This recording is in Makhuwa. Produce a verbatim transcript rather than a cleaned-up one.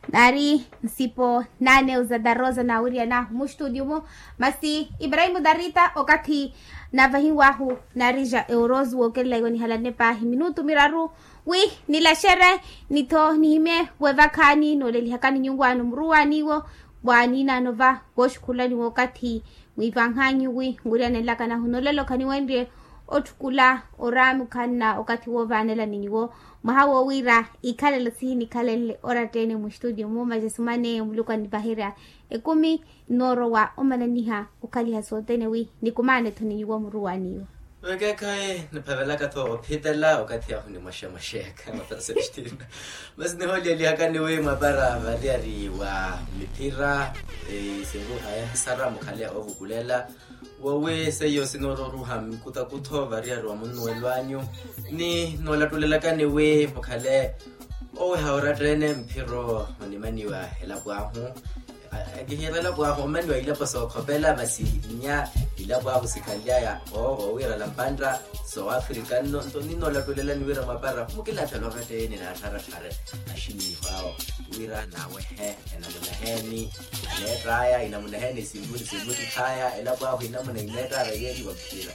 Naari nsipo naaneu za darosa naawiriyana muxtudio-mu. Masi ibrahimu darita okathi naavahiwahu naarija eurosi wookelela iwo nihalanne paahi minutu miraru wi nilaxere ni-tho nihimye wevakhaani noolelihakani nyungu ano muruwaani iwo. Waaniina anova wooxukhulani wookathi mwiivanhanyu wi nkuryanelaka nahu nolela okhaniwenrye otthukula oraami okhanna okathi woovaanelani nyuwo mwaha woowiira ikhalelo sihinikhalenle oratta-ene muxtudio-mu majesumane muluku anivaherya ekumi nnoorowa omananiha okhaliha sothene wi nikumaane-tho ni nyuwo muruwaani iwo. Vekeekhayi niphavelaka-tho ophitela okathi ahu nimwaxemwaxeka mapara sestina. Masi nihooliyelihakani wi mwapara variyari wa miphira isinruha yahisara mukhale oovukulela wowi seiyo sinoororuha mikutakutho variyari wa munnuwelo anyu ni noolatulelakani wi mukhale oweha oratta-ene mphiro onimaniwa elapo ahu. Kihiira elapo ahu omaniwa ilapo sookhopela masi inya ilapo ahu sikhanlyaya owiirala mpantta sooafrika nno nto ninnoolatulela niwiira mwapara mukilaatha lwakatta-ene naattharatthare axiniiho awo wira naawehe enamuna heeni aleett'aya inamuna heeni simmuttikh'aya elapo ahu inamuna imeett'aya yeeriwa mphira.